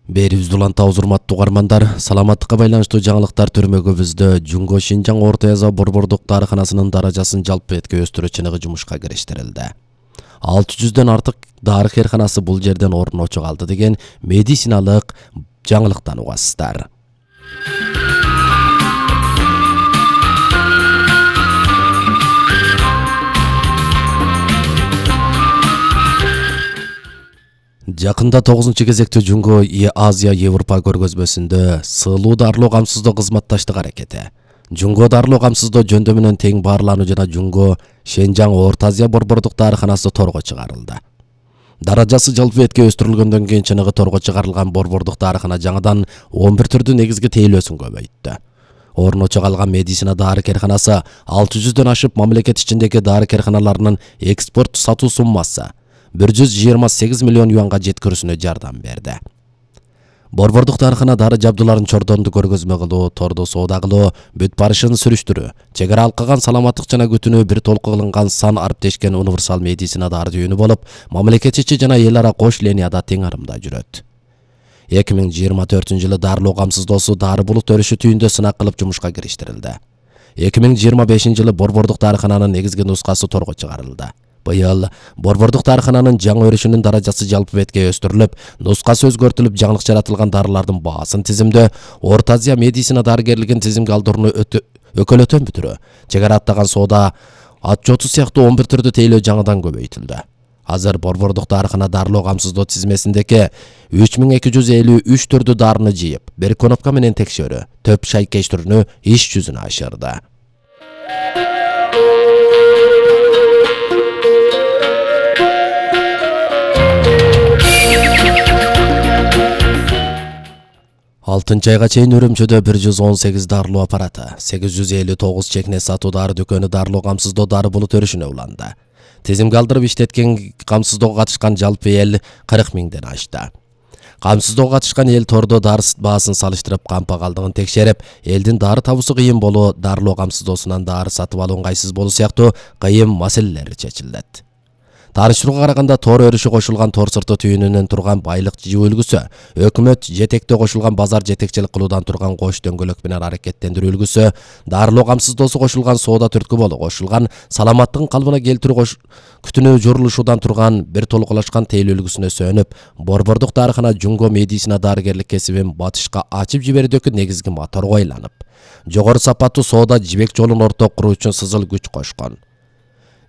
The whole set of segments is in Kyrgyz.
Берибизди улантабыз, урматтуу угармандар. Саламаттыкка байланыштуу жаңылыктар төрмөгүбүздө Жунго Шинжаң Орто Азия борбордук дарыканасынын даражасын жалпы бетке өстүрүү чыныгы жумушка кириштирилди. 600дөн артык дары кээрканасы бул жерден орун очуп алды деген медициналык жаңылыктан угасыздар. Жакында 9-кезекте Жунго Азия Европа көргөзмөсүндө сыылуу дарылоо камсыздоо кызматташтык аракети, Жунго дарылоо камсыздоо жөндөмү менен тең баарлануу жана Жунго Шинжаң Орто Азия борбордук дарыканасы торго чыгарылды. Даражасы жалпы бетке өстүрүлгөндөн кийин чыныгы торго чыгарылган борбордук дарыкана жаңыдан 11 түрдүү негизги тейлөөсүн көбөйттү. Орун очуп алган медицина дары кээрканасы 600дөн ашып мамлекет ичиндеги дары кээрканаларынын экспорт сатуу суммасы 128 миллион юанга жеткирүүсүнө жардам берди. Борбордук дарыкана дары жабдууларын чордонду көргөзмө кылуу, тордо соода кылуу, бүт барышын сүрүштүрүү, чек ара алкаган саламаттык жана күтүүнү бир толку кылынган сан ариптешкен универсал медицина дары түйүнү болуп, мамлекет ичи жана эл ара кош линияда тең арымда жүрөт. 2024-жылы дарылоо камсыздоосу дары булут өрүшү түйүндө сынак кылып жумушка кириштирилди. 2025-жылы борбордук дарыкананын негизги нускасы торго чыгарылды. Быйыл борбордук дарыкананын жаңы өрүшүнүн даражасы жалпы бетке өстүрүлүп, нускасы өзгөртүлүп, жаңылык жаратылган дарылардын баасын тизимдөө, Орто Азия медицина дарыгерлигин тизимге алдырууну өкөлөтөн бүтүрүү, чек ара аттаган соода, ат жоту сыяктуу 11 түрдүү тейлөө жаңыдан көбөйтүлдү. Азыр борбордук дарыкана дарылоо камсыздоо тизмесиндеги 3253 түрдүү дарыны жыйып, бир конопка менен текшерүү, төп шайкеш түрүнү иш жүзүнө ашырды. Алтынчы айга чейин Үрүмчүдө 118 дарылоо аппараты, 859 чекне сатуу дары дүкөнү дарылоо камсыздоо дары булут өрүшүнө уланды. Тизимге алдырып иштеткен камсыздоого катышкан жалпы эл 40 миңден ашты. Камсыздоого катышкан эл тордо дары баасын салыштырып, кампагалдыгын текшерип, элдин дары табуусу кыйын болуу, дарылоо камсыздоосунан дары сатып алуу ыңгайсыз болуу сыяктуу кыйын маселелер чечилет. Тарыштырууга караганда тор өрүшү кошулган тор сырты түйүнүнөн турган байлык жыйуу үлгүсү, өкмөт жетектөө кошулган базар жетекчилик кылуудан турган кош дөңгөлөк менен аракеттендирүү үлгүсү, дарылоо камсыздоосу кошулган соода түрткү болуу кошулган саламаттыгын калыбына келтирүү күтүүнү жорулушуудан турган бир толукулашкан тейлөө үлгүсүнө сөнүп, борбордук дарыкана Жунго медицина дарыгерлик кесибин батышка ачып жиберүүдөгү негизги моторго айланып, жогору сапаттуу соода жибек жолун ортого куруу үчүн сызыл күч кошкон.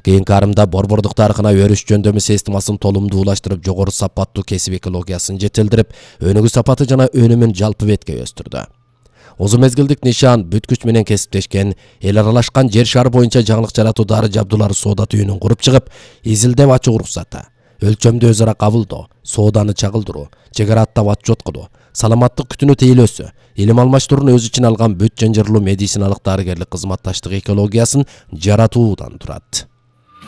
Кийинки арымда борбордук дарыкана өрүш жөндөмү системасын толумдуулаштырып, жогору сапаттуу кесип экологиясын жетилдирип, өнүгүү сапаты жана өнүмүн жалпы бетке өстүрдү. Узун мезгилдик нишан бүт күч менен кесиптешкен, эл аралашкан жер шары боюнча жаңылык жаратуу дары жабдуулары соода түйүнүн куруп чыгып, изилдеп ачуу уруксаты, өлчөмдү өз ара кабылдоо, сооданы чагылдыруу, чек ара аттап ат жоткулуу, саламаттык күтүүнү тейлөөсү, илим алмаштырууну өз ичине алган бүт жанжырлуу медициналык дарыгерлик кызматташтык экологиясын жаратуудан турат.